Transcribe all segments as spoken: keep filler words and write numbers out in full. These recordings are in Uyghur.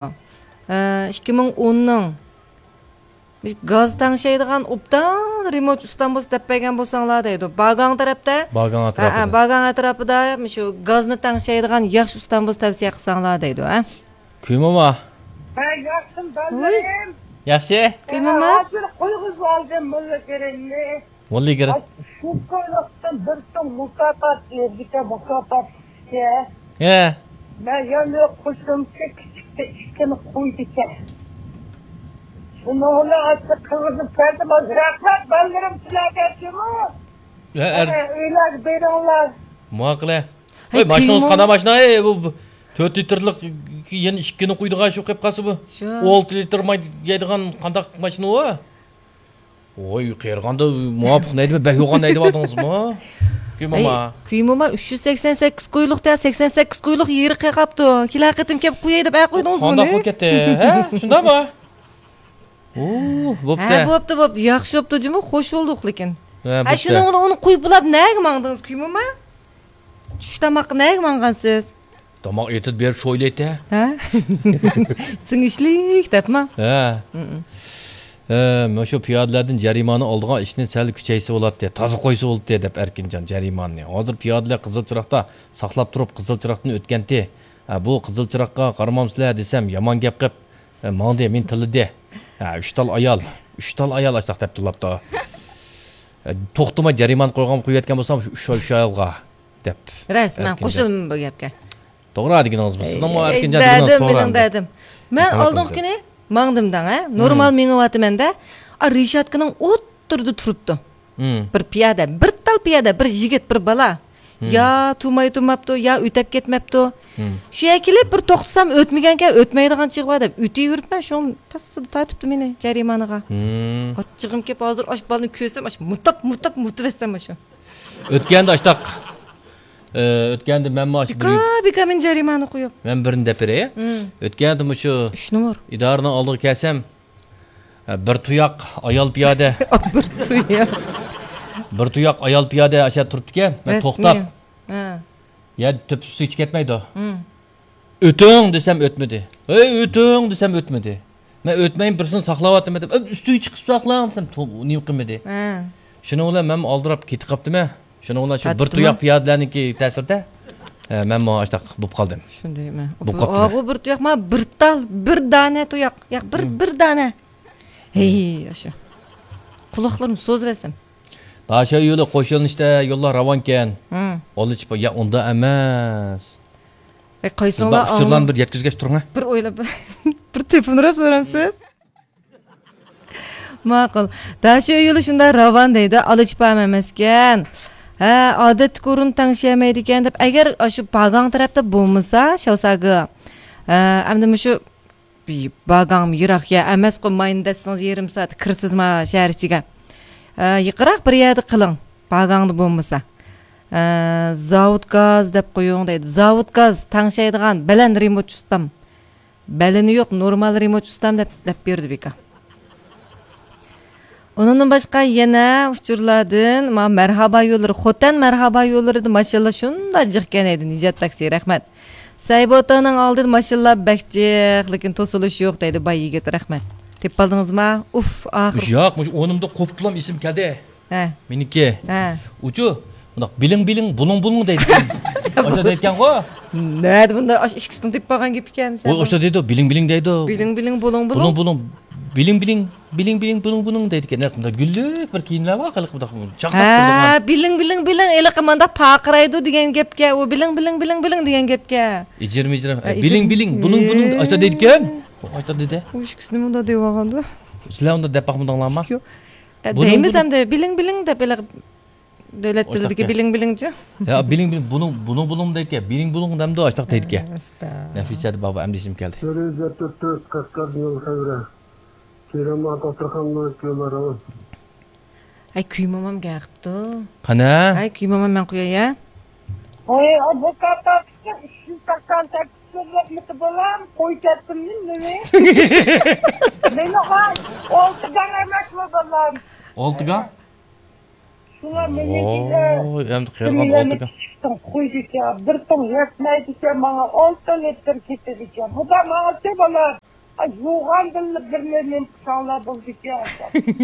ئىككى مىڭ ئوننىڭ گاز تەڭشەيدىغان ئوبدان رېمونتچى ئۇستام بولسا دەپ بەرگەن بولساڭلار دەيدۇ. باگاڭ تەرەپتە. باگاڭ ھە، ھە، ئەتراپىدا. باگاڭ ئەتراپىدا مۇشۇ گازنى تەڭشەيدىغان ياخشى ئۇستام بولسا تەۋسىيە قىلساڭلار دەيدۇ، ھە؟ كۈيماما. ھە، ياخشىمۇ، ۋۇي. بالىلىرىم؟ ياخشى. كۈيماما. ھە، ھازىر قويغۇزۇپ ئالدىم موللا كېرەمنى. موللا كېرەم. ئاي، شۇ كويلۇقتىن بىر سوم مۇكاپات بېرىدىكەن، مۇكاپات ئىككى. ھە. مەن يەنە قوشۇمچە كىچىكتە ئىككىنى قويىدىكەن. شۇنىڭ بىلەن ئاشۇ قىلغۇزۇپ كەلدىم. رەھمەت، بالىلىرىم سىلەرگە جۇمۇ. ھە، ئەرز- ئەنە، ئۆيلەرگە بېرىڭلار. ماقۇل. ھەي، ۋاي، ماشىنىڭىز كۈيمۇ- قانداق ماشىنا؟ ئەي، بۇ، بۇ تۆت لىتىرلىق يەنە ئىككىنى قويىدىغان شۇ قېلىپ قالسا بۇ. شۇ. ئون ئالتە لىتىر ماي يەيدىغان قانداق ماشىنا ئۇ؟ ۋوي، قېرىغاندا مۇۋاپىق نەيدىمەن، بەك يوغان نەيدىۋاتىڭىزمۇ؟ كۈيماما. ئەي، كۈيماما، ئۈچ يۈز سەكسەن سەككىز قويلۇق دە، سەكسەن سەككىز قويلۇق يېرى قېقاپتۇ. كېلەر قېتىم كەپ قوياي دەپ ئەقويدىڭىزمۇ؟ قانداق بولۇپ كەتتى؟ ھە؟ شۇنداقمۇ؟ ئۇ، بوپتۇ. ھە، بوپتۇ، بوپتۇ. ياخشى بوپتۇ جۇمۇ، خوش بولدۇق لېكىن. ھە، ھە، بوپتۇ. شۇنىڭ بىلەن ئۇنى قويۇپ بولاپ نەگە ماڭدىڭىز، كۈيماما؟ چۈش تاماققا نەگە ماڭغانسىز؟ تاماق ئېتىپ بېرىپ شويلايتتى. ھە؟ سىڭىشلىك دەپما؟ ھە. ھە، مۇشۇ پىيادىلەردىن جەرىمانە ئالىدىغان ئىشنى سەل كۈچەيسە بولاتتى، تازا قويسا بولاتتى دەپ ئەركىنجان جەرىمانىنى. ھازىر پىيادىلەر قىزىل چىراغدا ساقلاپ تۇرۇپ، قىزىل چىراغدىن ئۆتكەنتى. ھە، بۇ قىزىل چىراغقا قارىمامسىلەر دېسەم، يامان گەپ قىپ، ھە، ماڭدى، مېنى تىللىدى. ھە، ئۈچ تال ئايال، ئۈچ تال ئايال ئاشتاق دەپ تىللاپتۇ. ھە، توختىماي جەرىمانە قويغان قويۇۋەتكەن بولسام، شۇ ئۈچ، ئۈچ ئايالغا. دەپ. راست، مەن ئەركىنجان. قوشۇلىمەن بۇ گەپكە. توغرا دېگىنىڭىز بۇ. سىزنىڭمۇ ئەي، ئەركىنجان دېگىنىڭىز دەدىم، توغرا مېنىڭ ئەمدى. دەدىم. مەن ماقۇل ئالدىنقى قىلىسىز. كۈنى ماڭدىم دەڭ، ھە؟ نورمال مېڭىۋاتىمەن-دە. ئا، رېشاتكىنىڭ ئوتتۇرىدا تۇرۇپتۇ. بىر پىيادە، بىر تال پىيادە، بىر يىگىت، بىر بالا. يا تۇماي تۇماپتۇ، يا ئۆتەپ كەتمەپتۇ. شۇ يەرگە كېلىپ بىر توختىسام ئۆتمىگەنكەن، ئۆتمەيدىغان چېغى بار دەپ ئۆتۈۋېرىپمەن، شۇڭا تاسسىدا تارتىپتۇ مېنى جەرىمانىغا. ئاچچىقىم كېلىپ ھازىر ئاش بالىنى كۆرسەم، ئاش مۇتاپ، مۇتاپ، مۇتۇۋەتسەم ئاشۇ. ئۆتكەندە ئاشتاق، ئۆتكەندە مەنمۇ ئاشۇ بىر بىكار، بىكار مېنى جەرىمانە قويۇپ. مەن بىرنى دەپ بېرەي. ئۆتكەندە مۇشۇ ئۈچ نومۇر. ئىدارىنىڭ ئالدىغا كەلسەم، بىر تۇياق ئايال پىيادە. بىر تۇياق. بىر تۇياق ئايال پىيادە ئاشۇ يەردە تۇرۇپتىكەن. مەن توختاپ. ھە. يا تۆپىسى سۇ ئىچىپ كەتمەيدۇ. ئۆتۈڭ دېسەم ئۆتمىدى. ھەي، ئۆتۈڭ دېسەم ئۆتمىدى. مەن ئۆتمەي بىرسىنى ساقلاۋاتىمەن دەپ، ئۈستىگە چىقىپ ساقلاڭ دېسەم، نېمە قىلمىدى. شۇنىڭ بىلەن مەن ئالدىراپ كېتىپ قاپتىمەن. شۇنىڭ بىلەن شۇ بىر تۇياق پىيادىلەرنىڭكى تەسىرىدە، ئە، مەنمۇ ئاشتاق بولۇپ قالدىم. شۇندايمۇ. بولۇپ قاپتىمەن. ئۇ بىر تۇياق، ما بىر تال، بىر دانە تۇياق. ياق، بىر، بىر دانە. ھەي، ئاشۇ. قۇلاقلىرىمنى سوزۇۋەتسەم. داشا يولى قوشۇلۇشتا يوللار راۋانكەن. ئالىچىپا، يا ئۇنداق ئەمەس. ئەي، قايسىڭلار ئۇچۇرلارنى بىر يەتكۈزگەچ تۇرۇڭ، ھە؟ بىر ئويلاپ، بىر تېپىنراپ سورامسىز؟ ماقۇل. داشا يولى شۇنداق راۋان دەيدۇ، ئالىچىپام ئەمەسكەن. ھە، ئادەتتىكى ئورۇن تەڭشىيەلمەيدىكەن دەپ، ئەگەر ئاشۇ باگاڭ تەرەپتە بولمىسا، شاۋساگې. ھە، ئەمدى مۇشۇ باگاڭمۇ يىراق يا ئەمەسقۇ، ماينى دەتسىڭىز يېرىم سائەت كىرىسىزما شەھەر ئىچىگە؟ ھە، يېقىنراق بىر يەردە قىلىڭ، باگاڭدا بولمىسا. ھە، زاۋۇت گاز دەپ قويۇڭ دەيدۇ. زاۋۇت گاز تەڭشەيدىغان بەلەن رېمونتچى ئۇستام. بەلىنى يوق، نورمال رېمونتچى ئۇستام دەپ، دەپ بېرىدۇ بىكار. ئۇنىڭدىن باشقا يەنە ئۇچۇرلاردىن، ما، مەرھابا يوللىرى، خوتەن مەرھابا يوللىرىدا ماشىنىلار شۇنداق جىقكەن دەيدۇ، نىجات تاكسى، رەھمەت. سەيبوتانىڭ ئالدىدا ماشىنىلار بەك جىق، لېكىن توسۇلۇش يوق دەيدۇ، باي يىگىت، رەھمەت. تېپىۋالدىڭىزما؟ ئۇف، ئاخىر. ياق، مۇشۇ ئورنۇمدا قوپۇپلام ئېسىمگە كەلدى. ھە. مېنىڭكى. ھە. ئۇچۇ، مۇنداق بىلىڭ بىلىڭ، بۇلۇڭ بۇلۇڭ دەيدىكەن. ئاشۇنداق دەيدىكەنغۇ. نەدە بۇنداق ئاشۇ ئىككىسىنىڭ تېپىپ قالغان گېپىكەن. ئۇ ئاشۇنداق دەيدۇ، بىلىڭ بىلىڭ دەيدۇ. بىلىڭ بىلىڭ، بۇلۇڭ بۇلۇڭ. بۇلۇڭ بۇلۇڭ. بىلىڭ بىلىڭ، بىلىڭ بىلىڭ، بۇلۇڭ بۇلۇڭ دەيدىكەن. نەق مۇنداق گۈللۈك بىر كىيىملەر بار، خېلى مۇنداق چاقناپ تۇرىدىغان. ھە، بىلىڭ بىلىڭ بىلىڭ، ھېلىقى مۇنداق پارقىرايدۇ دېگەن گەپكە، ئۇ بىلىڭ بىلىڭ بىلىڭ بىلىڭ دېگەن گەپكە. ئىجىرىم ئىجىرىم. ھە، بىلىڭ ئىجىرىم. بىلىڭ، بۇلۇڭ بۇلۇڭ، ئاشۇنداق دەيدىكەن. ئاشۇنداق دېدى. ئۇ ئىككىسىنى مۇنداق دەۋالغاندۇ. سىلەر ئۇنداق دەپ باقمىدىڭلارمۇ؟ يوق. ئە، بۇنىڭ دەيمىز بۇنىڭ ئەمدى، بىلىڭ بىلىڭ دەپ، ھېلىقى دۆلەت تىلىدىكى بىلىڭ بىلىڭچۇ؟ يا، بىلىڭ بىلىڭ، بۇنىڭ، بۇنىڭ بۇلۇڭ دەيدىكەن، بىلىڭ بۇلۇڭ دەمدۇ، ئاشتاق دەيدىكەن. ئەستە. نەفىسە دەپ بابا ئەمدى ئېسىمگە كەلدى. بىرىنچى تۆت، تۆت، قەشقەردىن يول خەۋىرى. كېرەم ئاتا تۇرخاننىڭ يوللىرى. ھەي، كۈيمامام گەپ قىپتۇ. قانا؟ ھەي، كۈيمامام مەن قوياي، ھە؟ ھەي، ئۇ بۇ كاتاپتىكى ئۈچ يۈز سەكسەن سەككىز يوللۇقمىتى بالام، قوي كەتتىممۇ نېمە؟ مېنىڭغا ئالتە دەڭ ئەمەسمۇ بالام؟ ئالتە دەڭ؟ شۇلار مېنىڭكىلەر ۋوي، ئەمدى قېرىغان ئالتە كىشىدىن قويىدىكەن، بىر تىڭ يەتمەيدىكەن، ماڭا ئالتە لىتىر كېتىدىكەن. خۇدا ماڭا سېۋىلار. ئاي، يوغاندىلا بىرنى نېمە قىلساڭلار بولىدىكەن.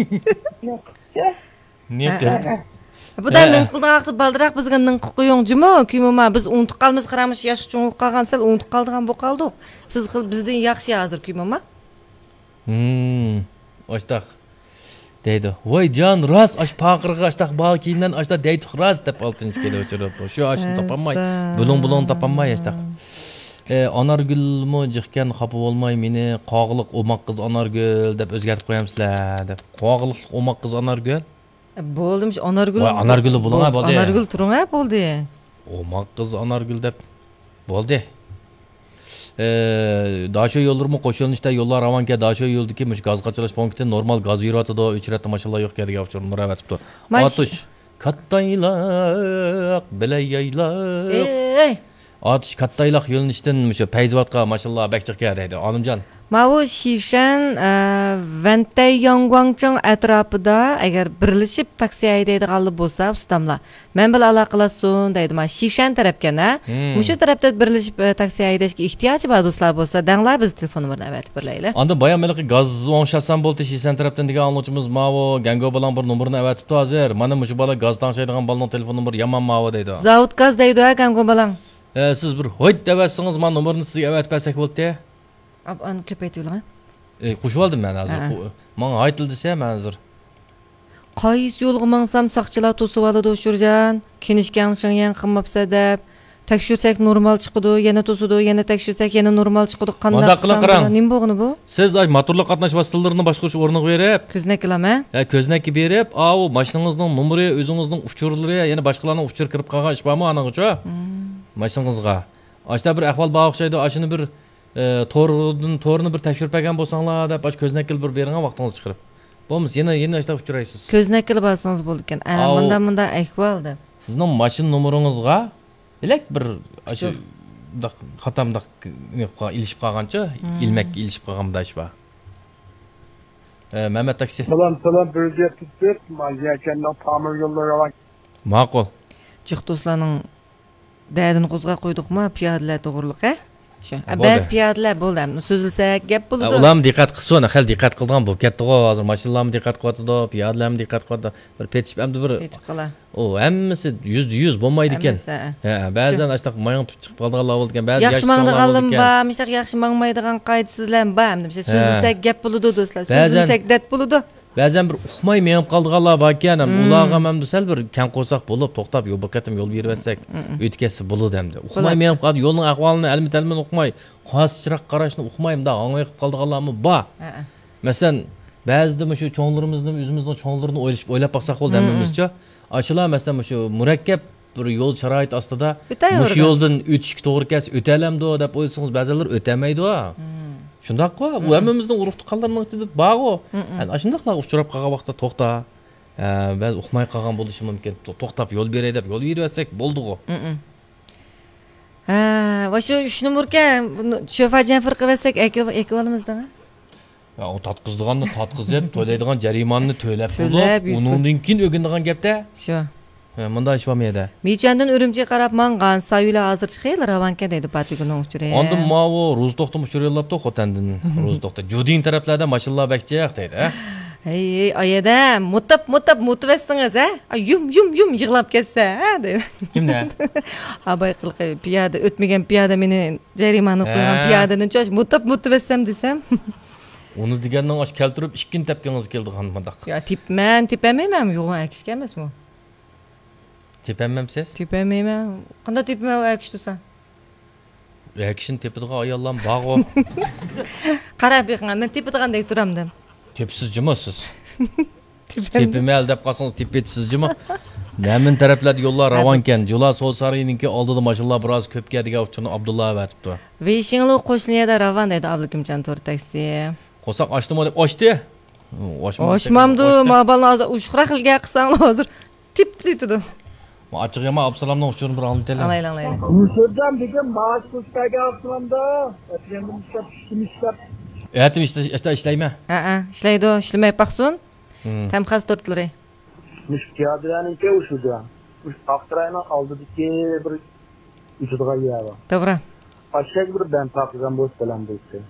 نېمە قىلسا؟ نېمە قىلسا؟ بۇدا نېمە قىلدىڭ ۋاقتى بالدىراق بىزگە نېمە قىلىپ قويۇڭ جۇمۇ، كۈيمۇما. بىز ئۇنتۇپ قالىمىز، قاراڭمىش ياشقا چوڭ بولۇپ قالغان، سەل ئۇنتۇپ قالىدىغان بولۇپ قالدۇق. سىز خىل بىزدىن ياخشى ھازىر كۈيمۇما. ھىم، ئاشتاق دەيدۇ. ۋاي جان، راست، ئاش پاقىرغا ئاشتاق باغ كىيىملەرنى ئاشتاق دەيتۇق راست دەپ ئالتىنچى كېلىپ ئۇچۇرۇپتۇ. شۇ ئاشنى تاپالماي، بۇلۇڭ بۇلۇڭ تاپالماي ئاشتاق. ئە، ئانارگۈلمۇ جىقكەن، خاپا بولماي مېنى، قاغىلىق ئوماق قىز ئانارگۈل دەپ ئۆزگەرتىپ قويامسىلەر دەپ. قاغىلىقلىق ئوماق قىز ئانارگۈل. بولدىمىش، ئانارگۈل. ۋاي، ئانارگۈللا بولۇڭ، ھە، بولدى. ئانارگۈل تۇرۇڭ، ھە، بولدى. ئوماق قىز ئانارگۈل دەپ بولدى. ئە، داشۆ يوللىرىمۇ قوش يۆنىلىشتە يوللار راۋانكەن، داشۆ يولىدىكى مۇشۇ گاز قاچىلاش پونكىتى نورمال گاز يۈرۈۋاتىدۇ، ئۆچرەتتە ماشىنىلار يوق، كەدىگە ئۇچۇرۇم مۇرەۋەتىپتۇ. ماش- ئاتۇش، كاتتايلاق، بىلەيايلاق. ئەي! ئاتۇش، كاتتايلاق يۆنىلىشتىن مۇشۇ پەيزىۋاتقا ماشىنىلار بەك جىق كەل دەيدۇ، ئالىمجان. ماۋۇ شىشەن، ئە، ۋەنتەي ياڭگۇاڭچىڭ ئەتراپىدا ئەگەر بىرلىشىپ تاكسى ھەيدەيدىغانلار بولسا، ئۇستاملار، مەن بىلەن ئالاقىلاشسۇن دەيدۇ. مانا شىشەن تەرەپكەن، ھە؟ ھىم. مۇشۇ تەرەپتە بىرلىشىپ، ئە، تاكسى ھەيدەشكە ئېھتىياجى بار دوستلار بولسا، دەڭلار بىز تېلېفون نومۇرىنى ئەۋەتىپ بېرەيلى. ئاندىن بايام ھېلىقى گاز ئوڭشاتسام بولدى، شىشەن تەرەپتىن دېگەن ئاڭلىغۇچىمىز ماۋۇ گەڭگو بالاڭ بىر نومۇرنى ئەۋەتىپتۇ ھازىر. مانا مۇشۇ بالا گاز تەڭشەيدىغان بالىنىڭ تېلېفون نومۇرى يامان ماۋۇ دەيدۇ. زاۋۇت گاز دەيدۇ، ھە، گەڭگو بالاڭ. ئە، سىز بىر ھويت دەۋەتسىڭىز، مانا نومۇرنى سىزگە ئەۋەتىپ بەرسەك بولدى. ئاپ-، ئانى كۆپەيتىۋېلىڭ، ھە. ئى، قوشۇۋالدىم مەن ھازىر. ھە. قو-، ماڭا ھايتىل دېسە، مەن ھازىر. قايسى يولغا ماڭسام ساقچىلار توسۇۋالىدۇ، شۇرجان. كېنىشكەڭ شېڭيەڭ قىلماپسەن دەپ. تەكشۈرسەك نورمال چىقىدۇ، يەنە توسىدۇ، يەنە تەكشۈرسەك يەنە نورمال چىقىدۇ. قانداق قىلسام بولىدۇ؟ نېمە بولغىنى بۇ؟ سىز ئاي موتورلۇق قاتناش ۋاسىتىلىرىنى باشقۇرۇش ئورنىغا بېرىپ. كۆزنەككە ئالام، ھە؟ ھە، كۆزنەككە بېرىپ، ئاۋۇ ماشىنىڭىزنىڭ نومۇرى، ئۆزىڭىزنىڭ ئۇچۇرلىرى، يەنە باشقىلارنىڭ ئۇچۇرى كىرىپ قالغان ئىش بارمۇ ئانىڭغىچۇ؟ مم. ماشىنىڭىزغا. ئاشۇنداق بىر ئەھۋال بار ئوخشايدۇ، ئاشۇنى بىر ئى، تورىدىن، تورىنى بىر تەكشۈرۈپ بەرگەن بولساڭلار دەپ، ئاشۇ كۆزنەككىلا بىر بېرىڭە، ۋاقتىڭىزنى چىقىرىپ. بولمىسا يەنە، يەنە ئاشۇنداق ئۇچرايسىز. كۆزنەككىلا بارسىڭىز بولىدىكەن. ئە، ئاۋۇ مۇنداق، مۇنداق ئەھۋال دەپ. سىزنىڭ ماشىنا نومۇرىڭىزغا بىلەك بىر ئاشۇ ئۇچۇر. مۇنداق خاتا مۇنداق نېمە قىلغان، ئېلىشىپ قالغانچۇ، مم. ئىلمەككە ئېلىشىپ قالغان مۇنداق ئىش بار. ئە، مەمەت تاكسى. سالام، سالام، بىر يەتتە تۆت، ما يەكەننىڭ تامىر يوللىرى راۋان. ماقۇل. جىق دوستلارنىڭ دەردىنى قوزغاپ قويدۇقما، پىيادىلەر توغرىلىق، ھە؟ شۇ. ھە، بەزى پىيادىلەر بولدى، ئەمدى سۆزلىسەك گەپ بولىدۇ. ئۇلارمۇ دىققەت قىلسۇن، خېلى دىققەت قىلىدىغان بولۇپ كەتتىغۇ ھازىر. ماشىنىلارمۇ دىققەت قىلىۋاتىدۇ، پىيادىلەرمۇ دىققەت قىلىۋاتىدۇ. بىر پېتىشىپ ئەمدى بىر پېتىپ قالا. ئۇ ھەممىسى يۈزدە يۈز بولمايدىكەن. ھەممىسى، ھە. ھە، بەزەن شۇ. ئاشتاق ماياڭ تۇتۇپ چىقىپ قالىدىغانلار بولىدىكەن، بەزى ياخشى ياش چوڭلار ماڭىدىغانلارمۇ بولىدىكەن. بار، مۇشۇنداق ياخشى ماڭمايدىغان قائىدىسىزلارمۇ بار. ئەمدى بىر ھە. سۆزلىسەك گەپ بولىدۇ، دوستلار. بەزەن سۆزلىمىسەك دەرد بولىدۇ. بەزەن بىر ئۇقماي مېڭىپ قالىدىغانلار باركەن، ھەم مم. ئۇلارغا ھەم سەل بىر كەڭ قورساق بولۇپ، توختاپ، يول بىر قېتىم يول بېرىۋەتسەك، مم. ئۆتۈپ كەتسە بولىدۇ ئەمدى. ئۇقماي بولاتتى. مېڭىپ قالىدۇ، يولنىڭ ئەھۋالىنى ئەلمە-تەلمىنى ئۇقماي، قارا چىراغ قاراشنى ئۇقماي، مۇنداق ھاڭۋېقىپ قالىدىغانلارمۇ بار. ھەئە. مەسىلەن، بەزىدە مۇشۇ چوڭلىرىمىزنى، ئۆزىمىزنىڭ چوڭلىرىنى ئويلىشىپ، ئويلاپ باقساق بولدى مم. ھەممىمىزچۇ. ئاشۇلار، مەسىلەن، مۇشۇ مۇرەككەپ بىر يول شارائىتى ئاستىدا مۇشۇ يولدىن ئۆتۈشكە توغرا كەلسە ئۆتەلەمدۇ دەپ ئويلىسىڭىز، بەزىلەر ئۆتەلمەيدۇ. مم. شۇنداققۇ، بۇ مم. ھەممىمىزنىڭ ئۇرۇق تۇغقانلىرىنىڭ ئىچىدە بارغۇ. مم، مم. ئەنە ئاشۇنداقلارغا ئۇچراپ قالغان ۋاقىتتا توختا. ھە، بەزى ئۇقماي قالغان بولۇشى مۇمكىن. تو-، توختاپ يول بېرەي دەپ يول بېرىۋەتسەك بولدىغۇ. مم، مم. ھە، ۋە شۇ ئۈچ نومۇركەن، بۇنى شوفاجان پىرقىۋەتسەك ئەكىل-، ئېكىۋالىمىز دەڭە. يا، ئۇ تارتقۇزىدىغاننى تارتقۇزۇپ، تۆلەيدىغان جەرىمانىنى تۆلەپ تۆلەپ بولۇپ، يۈز ئۇنىڭدىن كېيىن ئۆگىنىدىغان گەپتە. شۇ. ھە، مۇنداق ئىش بارمۇ يەردە؟ مىچۈەندىن ئۈرۈمچىگە قاراپ ماڭغان سايۈلە ھازىرچە خېلى راۋانكەن دەيدۇ پاتىگۈلنىڭ ئۇچۇرى. ئاندىن ماۋۇ روزى توختىمۇ ئۇچۇر يوللاپتۇ خوتەندىن. روزى توختى. جۇدىن تەرەپلەردە ماشىنىلار بەك جىق دەيدۇ، ھە؟ ھەي، ھەي، ئايەدە، مۇتاپ، مۇتاپ، مۇتۇۋەتسىڭىز، ھە؟ ئاي، يۇم، يۇم، يۇم، يىغلاپ كەتسە، ھە؟ دەيدۇ. كىمنى؟ ھا، بايىقى پىيادە، ئۆتمىگەن پىيادە مېنى جەرىمانە قويغان ھە. پىيادىنى چوش مۇتاپ، مۇتۇۋەتسەم دېسەم. ئۇنى دېگەننىڭ ئاشۇ كەلتۈرۈپ ئىككىنى تەپكىڭىز كېلىدىغان مۇنداق. يا، تېپىمەن، تېپەلمەيمەن، يوغان ئەكىشكە ئەمەسمۇ؟ تېپەلمەمسىز؟ تېپەلمەيمەن. قانداق تېپىمەن ئۇ ئەكىش تۇرسا؟ ئەكىشىنى تېپىدىغان ئاياللارمۇ بارغۇ. قاراپ بېقىڭ، مەن تېپىدىغاندەك تۇرامدىم. تېپىسىز جۇمۇ سىز. تېپەلمەي. تېپىمەن دەپ قالسىڭىز تېپىۋېتىسىز جۇمۇ. ھەممە تەرەپلەردە يوللار راۋانكەن. جۇلا سودا سارىيىنىڭكى ئالدىدا ماشىنىلار بىراز كۆپ كەلدىگەن ئۇچۇرنى ئابدۇللا ئەۋەتىپتۇ. ۋېيشىڭلۇ قوشنىيەدە راۋان دەيدۇ ئابلىكىمجان تور تاكسى. قورساق ئاچتىمۇ دەپ ئاچتى. ئاچمامدۇ، ما بالىنى ھازىر ئوشۇقراق گەپ قىلساڭلار ھازىر تېپىپ كېتىدۇ. ما ئاچچىق يامان ئابسالامنىڭ ئۇچۇرىنى بىر ئاڭلىتايلى. ئالايلى، ئالايلى. مۇشۇدان بۈگۈن مائاش پۇل بەرگەن ئابسالامدا. ئەتىگەندىن ئىشلەپ، چۈشتىن ئىشلەپ. ئەتە ئىشلە-، ئىشلە-، ئىشلەيمەن. ھەئە، ئىشلەيدۇ، ئىشلىمەي باقسۇن. ھىم. تەم خاس تورتلىرى. مۇشۇ پىيادىلەرنىڭكى ئۇ شۇ جاي. مۇشۇ ئاقساراينىڭ ئالدىدىكى بىر ئۆتىدىغان يەر بار. توغرا. ئاشۇ يەرگە بىر بەند تاقىغان بولسا بەلەن بولسا.